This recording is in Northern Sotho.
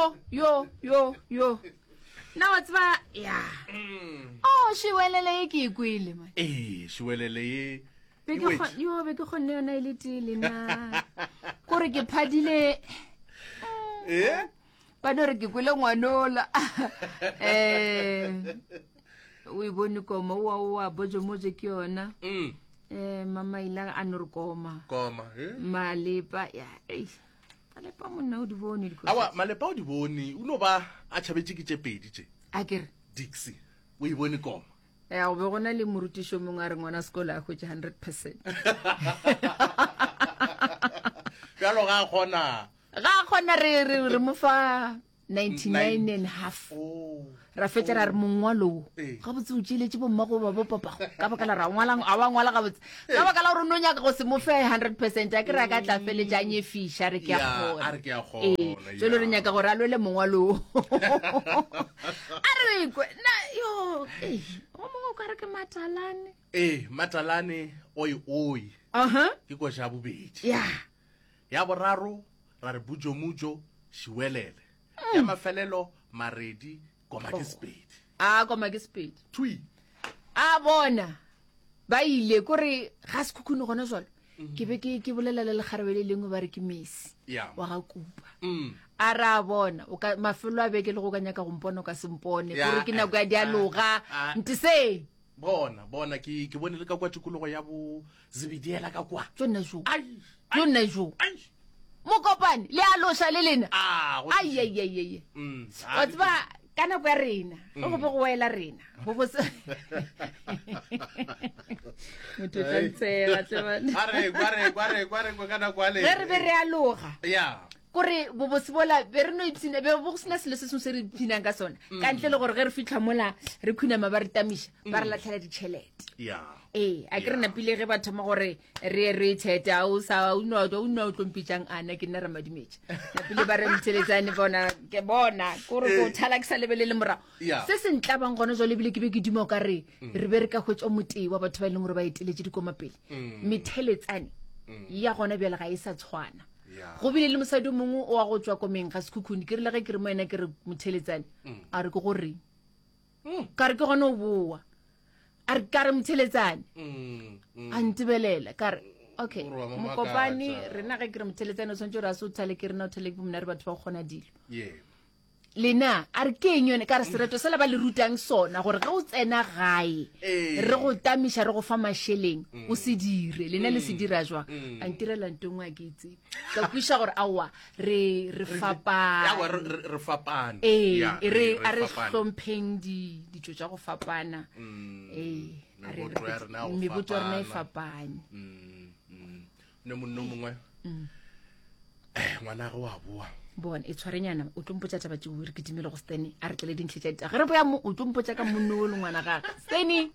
Yo yo yo yo. Na wa tseba ya. Mm. Oh, šiwelele ye ke e kwele man. Ee, šiwelele ye. Be ke yo be ke kgonne yona e le tee le na. Kore ke phadile. Eh? Ba no re ke kwele ngwanola. Eh. O e bone koma oa oa bojo mojo ke yona. Mm. Eh mama ila a no re koma. Koma, eh? Malepa ya. Ei. Malepa monna o di bone dikotsi. Awa malepa o di bone o no ba a tšhabetše ke tše pedi tše. A ke re. Dixie o e bone koma. Ya go be go na le morutišo mongwe a re ngwana sekolo a hwetše 100 percent. Bjalo ga a kgona. Ga a kgona re re re mo fa 99 and half oh. ra fetša ra re mongwalo wo Ee. gabotse o tšeletše bommago ba bopapago ka baka la ra ngwalang a wa ngwala gabotse ka baka la gore o no nyaka go se mo fe 100 percent a ke re a ka tla feletša a nyefiša re ke a Ya, kgona a re ke a kgona, Ee, jalo re ya. nyaka gore a lwele mongwalo wo a re kwe na yo ee, o mongwe o ka re ke matalane ee matalane oi oi aha ke koša ya bobedi ya Ya boraro ra re bujomujo šiwelele. Ya mafelelo maredi koma ke sepedi. A koma ke sepedi. Thwi. A bona ba ile kore ga sekhukhune gona jalo. Mm. Ke be ke ke bolela le lekgarebe le lengwe ba re ke Messi. Yeah. Wa ga Kupa. Mm. A re a bona o ka mafelo a beke le go ka nyaka go mpona o ka se mpone. Yeah. Kore ke nako ya dialoga. Ah, ah. Ntse. Bona bona ke ke bone le ka kwa tikologo ya bo Zebediela ka kwa. Tšo nna jo. Ai. Tšo nna jo. Ai. Mokopane le a loša le lena. Ah, go Ai ai ai ai. Mm. Wa tseba ka nako ya rena, ge go be go wela rena. Go bo se Motho o tla ntshega tle bana. A re kwa re kwa re kwa re kwa ka nako ya le. Ge re be re aloga. Ya. Kore bobose bola be re no ipshina be bo go sena selo se sengwe se re ipshinang ka sona. Ka ntle le gore ge re fitlha mola re khunama ba re tamiša, ba re latlhela ditšhelete. Ya. Ee, a ke re napile ge ba thoma gore re ye re tšhete a o sa o nwa o nwa o tlompitšang ana ke nna ramadimetša napile ba re mtheletsane bona ke bona kore ko thala ke sa lebelele morago Yeah. se se ntlabang gona jwale ebile ke be ke duma o ka re re be re ka hwetša motee wa batho ba e leng gore ba eteletše dikoma pele metheletsane ya gona bjale ga e sa tshwana Yeah. go bile le mosadi o mongwe o wa go tswa komeng ga sekhukhune ke rile ge ke re mo ena ke re motheletsane a re ke goreng ka re ke gona o boa a re ka re motheletsane mm, mm. a ntebelela ka re okay Gore wa mo mokopane makatsa. rena ge ke re motheletsane o tshwanetse gore a se o thale ke rena o thale ke bomna re batho ba go kgona dilo Yeah. lena a re ke eng yone ka re sereto sela ba le rutang sona gore ge o tsena gae Ee. re go tamiša re go fa mašeleng o se dire lena le se dira jwang a ntirela nto nngwe a ke itse ka kwiša gore aowa re re Aowa, fapane re- re re fapane ee Yeah, e re a re fapane. hlompheng di ditšo tša go fapana ee a re- meboto ya rena ya go meboto ya rena e fapana. fapane Mm, mm. ne monno mongwe eh ngwana ge wa boa bona e tshwarenyana o tlo mpotša taba tšeo re kitimele go stene a re tlele dintlhe tša ditaba ge re boya mo o tlo mpotša ka monno o le ngwana gage stene